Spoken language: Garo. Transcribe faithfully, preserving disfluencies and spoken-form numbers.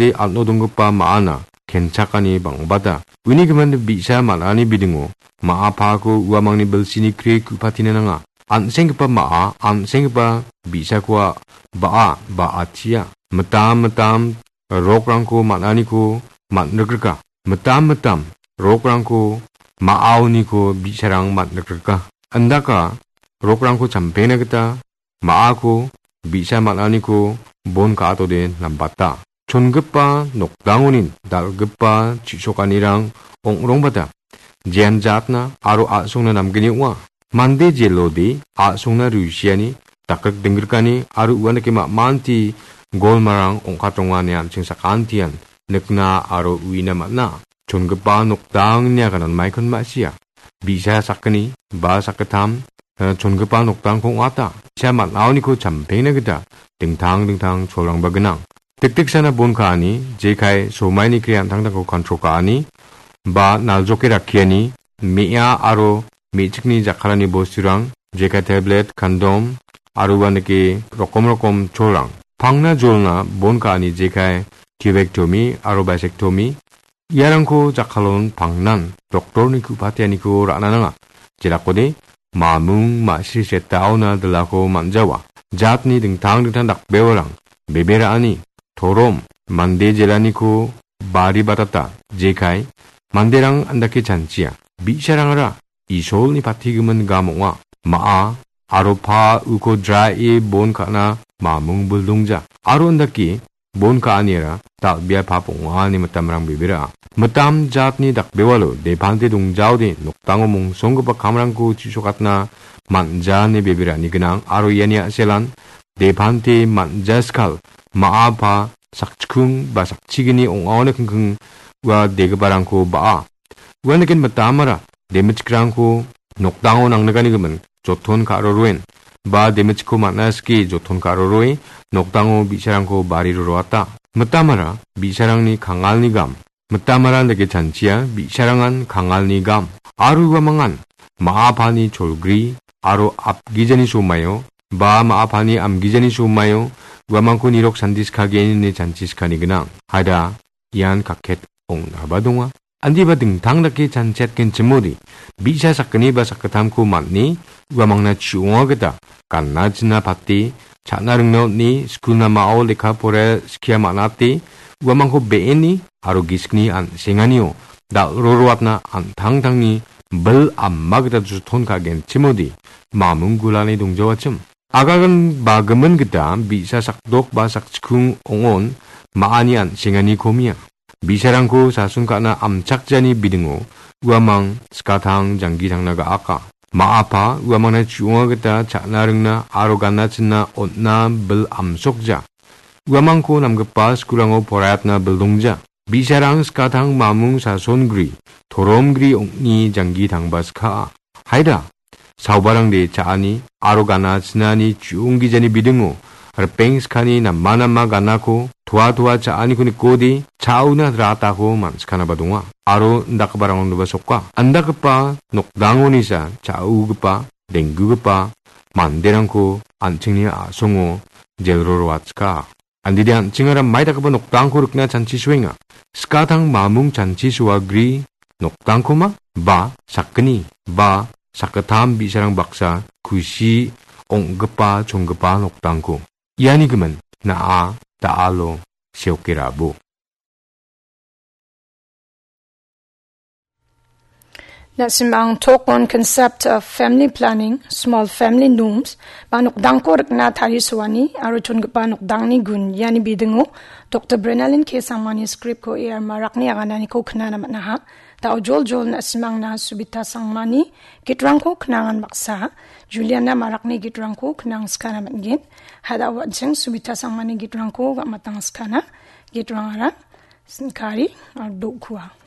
an·o donggipa ma·ana kenchakani bang·bata. Uni gimin bi·sa man·ani bidingo ma·a paako uamangni bilsini kri ku·patina nanga. An·senggipa ma·a, an·senggipa bi·sakoa ba·a, ba·achia. Mitam mitam rokrangko man·aniko man·rikrika. Mitam mitam rokrangko ma·aoniko bi·sarang man·rikrika. Indaka rokrangko champengna gita ma·ako bi·sa man·aniko bon ka·atode nambata. Chongipa nokdangoni dal·gipa chisokanirang ong·rongbata. Jean jatna aro a·songna namgni ong·a. Mande jelode a·songna rusiani, dakrik dinggrikani aro uanike ma·manti golmarang ong·katronga ine an·ching sakantian nikna aro uina man·a. Chongipa nokdangni aganan maikon ma·sia. Bi·sa sakgni ba sakgittam, eh, chongipa nokdangko ong·ata. Bi·sa man·aoniko champengna gita dingtang dingtang cholrangba gnang. Dikdiksana bon ka·ani, jekai somaini kre an·tangtangko kontrol ka·ani, ba naljoke rakkiani, me·a aro me·chikni jakkalani bosturang, jekai tablet, kandom, aro uanike rokom rokom cholrang. Pangna jolna bon ka·ani jekai tubektomi aro basektomi, iarangko jakkalon pangnan doktorni ku·pateaniko ra·na nanga. Jelakode mamung ma·sri setaona dilako man·jawa. Jatni dingtang dingtang dakbewarang, bebe ra·ani, torom, mande jelaniko bari batata, jekai, manderang andake chanchia. Bi·sarangara Isolni patigimin gam ong·a. Ma·a aro pa uko draie bon ka·na mamung bildongja. Aro indake bon ka·aniara dal·bea pap ong·a ine mitamrang bebera. Mitam jatni dakbewalo depante dongjaode nokdango mongsonggipa kamrangko chisokatna man·ja ine beberani gnang aro iani a·selan depante man·ja skal ma·a pa sakchikung ba sakchigini ong·aoni kingking ua degiparangko ba·a. Uaniken mitamara demichikrangko nokdango nangnigani gimin joton ka·roroen, ba demichikko man·a sike joton ka·roroe nokdango bi·sarangko bari roroata. Mitamara bi·sarangni kangalni gam. Mitamara dake chanchia bi·sarangan kangalni gam. Aro uamangan ma·a pani cholgri aro apgijani somaio ba ma·a pani amgijani somaio uamangko nirok sandi skageni ine chanchi skani gnang. Haida ian kaket ong·naba donga. Andiba dingtang dake chanchetgenchimode, bi·sa sakgni ba sakgittamko man·e uamangna chi·onga gita ganna china pate, cha·na ringna on·e, skulna ma·o lekka poraia skia man·ate, uamangko be·eni aro gisikni an·senganio dal·roroatna an·tangtangni bil ama gita joton ka·genchimode mamung gulani dongjawachim. Aganba gimin gita bi·sa sakdok ba sakchikung ong·on ma·ani an·sengani komia. Bi·sarangko sason ka·na amchakjani bidingo uamang skatang janggi tangna ga·aka. Ma·apa uamangna chu·onga gita cha·na ringna aro ganna chinna on·na bil amsokja. Uamangko namgipa skulango poraiatna bildongja. Bi·sarang skatang mamung sasongri, toromgri ong·e janggi tangba skaa. Haida, saobarangde cha·ani aro gana chinani chu·onggijani bidingo ripeng skani nama nama ganako toa toa cha·aniko nikode cha·ona ratako man·sikanaba donga. Aro indakgiparangoniba soka. Indakgipa nokdangonisa cha·ogipa, denggugipa manderangko an·chingni a·songo jelro roatska. Andide an·chingara mai dakgipa nokdangko rikna chanchisoenga. Skatang mamung chanchisoa gri nokdangkoma ba sakgni ba sakgittam bi·sarang baksa kusi ong·gipa chonggipa nokdangko. Iani gimin na·a da·alo seokerabo. Na·simang talk on concept of family planning, small family norms, ba nokdangko rikna tarisoani aro chongipa nokdangni gun, iani bidingo Doktor Brenalin K Sangmani script-ko A R Marakni agananiko knana man·aha. Da·o joljol na·simangna Subita Sangmani gitrangko knangan baksa, Juliana Marakni gitrangko knang skana man·gen. Hada·o an·ching Subita Sangmani gitrangko ga·matang skana. Gitrangara Sinkari aro Do·kua.